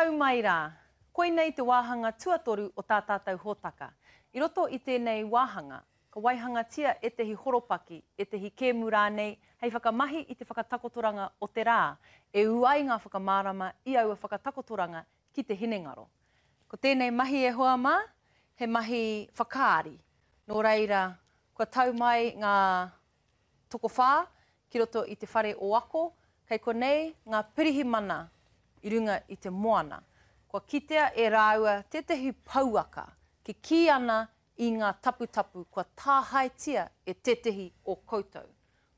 Nau mai rā. Koinei te wāhanga tuatoru o tā tātou hōtaka. I roto i tēnei wāhanga, ka waihangatia ētahi horopaki, ētahi kēmu rānei hei whakamahi i te whakatakotoranga o te rā, e ū ai ngā whakamārama i aua whakatakotoranga ki te hinengaro. Ko tēnei mahi e hoa mā, he mahi whakaari. Nō reira, kua tau mai ngā tokowhā ki roto i te whare o Ako, kei konei ngā pirihimana i runga i te moana. Kua kitea e rāua tētahi pouaka kikī ana i ngā taputapu kua tāhaetia e tētahi o koutou.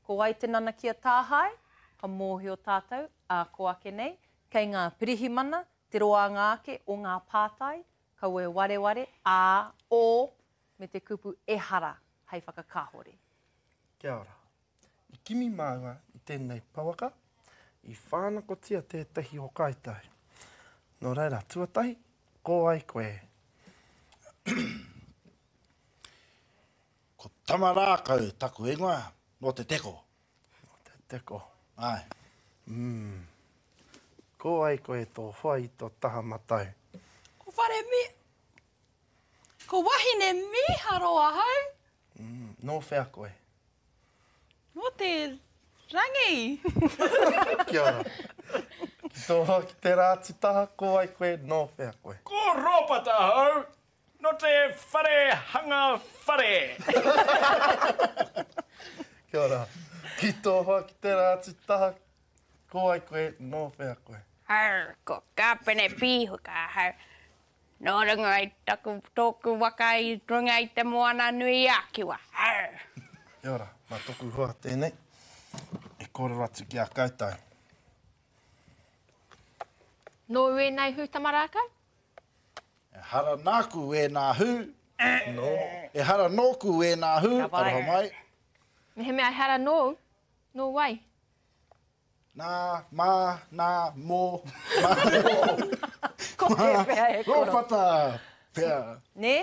Ko wai te nanakia tāhae? Ka mōhio tātou, ā kō ake nei, kei ngā pirihimana te roanga ake o ngā pātai, kaua e wareware, ā, ō, me te kupu ehara hei whakakāhore. Kia ora. I kimi māua i tēnei pouaka, i whānakotia tētahi o Kāitai. Nō reira, tuatahi, ko wai koe? Ko Tamarākau taku ingoa, nō Te Teko. Nō Te Teko. Āe. Mm. Ko wai koe tō hoa i tō taha matau? Ko Whare Mi... Ko wahine mīharo ahau. Mm, nō whea koe? Nō te rangi. Kia ora. Ki tō hoa ki te rā titaha, ko wai koe, nō whea koe? Ko Rōpata ahau, nō te whare hanga whare. Kia ora. Ki tō hoa ki te rā titaha, ko wai koe, nō whea koe? Arr, ko Kāpene Pīhuka ahau. Nō runga i taku, tōku waka i runga i te moana nui a Kiwa. Arr! Kia ora, mā toku hoa tēnei e kōrero atu ki a koutou. Nōu ēnei hū tamarākau? Ehara nāku ēnā hū. Nō. Ehara nōku ēnā hū, Ka wai. aroha mai. Mehemea ehara nōu, nō wai? Nā, mā, nā, mō, mā, mō. Ko tēwhea e koro? Rōpata pea. Nē?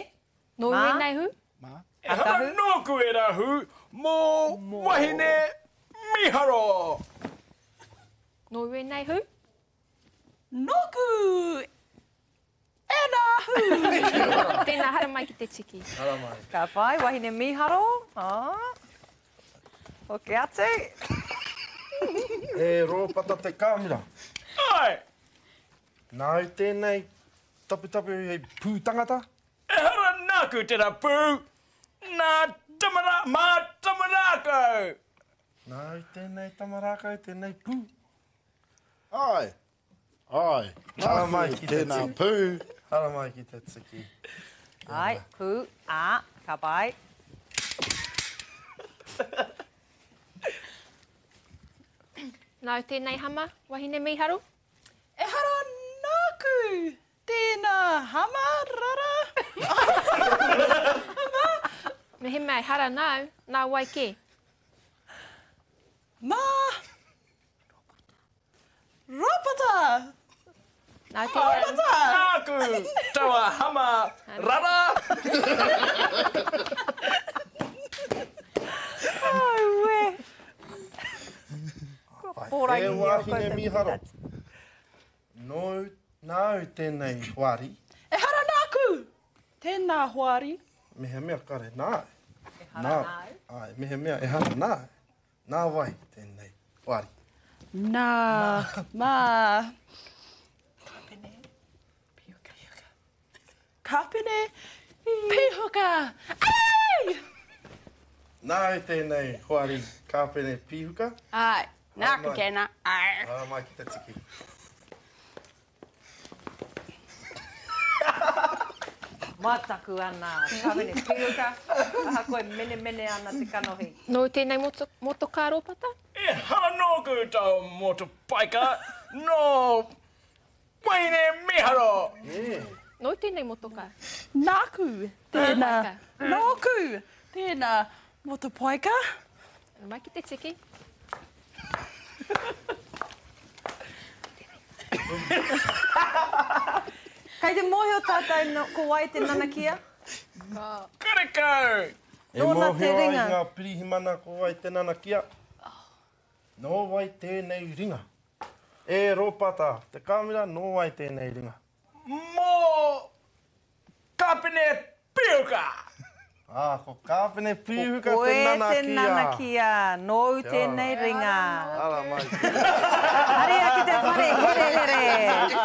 Nōu Mā? ēnei hū? Mā. Ehara nōku ērā hū, mō wahine mīharo! Nōu ēnei hū? Nōku Ena hū! Tēnā, haramai ki te tiki. Haramai. Ka pai, wahine mīharo. Oh. Hoki atu. E Rōpata te kāmera. Āe! Nāu tēnei taputapu hei pū tangata? Ehara nāku tērā pū, nā Tamara, mā Tamarākau! Nāu tēnei Tamarākau, tēnei pū? Āe! Āe, nāku tēnā pū. Haramai ki te tiki. Āe, pū, ā, ka pai. Nāu tēnei hama, wahine mīharo? Ehara nāku tēnā hama, rara. Hama. Mehemea ehara nāu, nā wai kē? Mā. Rōpata! Nā te Rōpata! Nāku taua hama rara! Aue! Kua pōrangi E o wāhine koutou mīharo, pīnati. nōu, nāu tēnei hoari. Ehara nāku! Tēnā hoari. Mehemea kare nāu. Ehara nāu. Āe, mehemea ehara nāu. Nā wai tēnei wāri? Nā, mā. Kāpene Pihuka. Kāpene Pihuka. Ei! Nāu tēnei hoari Kāpene Pihuka? Āe, nāku tēnā. Āe. Haramai ki te tiki. Mataku ana a Kāwene Piuka, ahakoa e menemene ana te kanohi. Nōu tēnei motokā Rōpata? Ehara nōku tō motopaika, nō Wahine Mīharo! Nōu tēnei motokā? Nāku tēnā. Nōku tēnā motopaika. Mai ki te tiki. Kei te mōhio tātou no, ko wai te nanakia? Karekau! E Nōna te mōhio ai ringa. ngā pirihimana ko wai te nanakia? Nō wai tēnei ringa? E Rōpata, te kāmera nō wai tēnei ringa? Mō Kāpene Pīhuka! Ā, ko Kāpene Pīhuka Ko te koe te nanakia. nanakia, nōu tēnei ringa. Ara mai. Haria ki te whare herehere.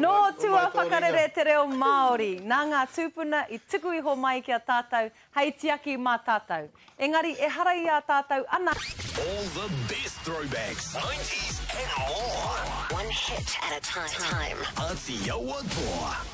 Nō tua whakarere te reo Māori, nā ngā tūpuna i tuku iho mai ki a tātou hei tiaki mā tātou. Engari ehara i a tātou ana. All the best throwbacks, nineties and more. One hit at a time. Atiawa Toa.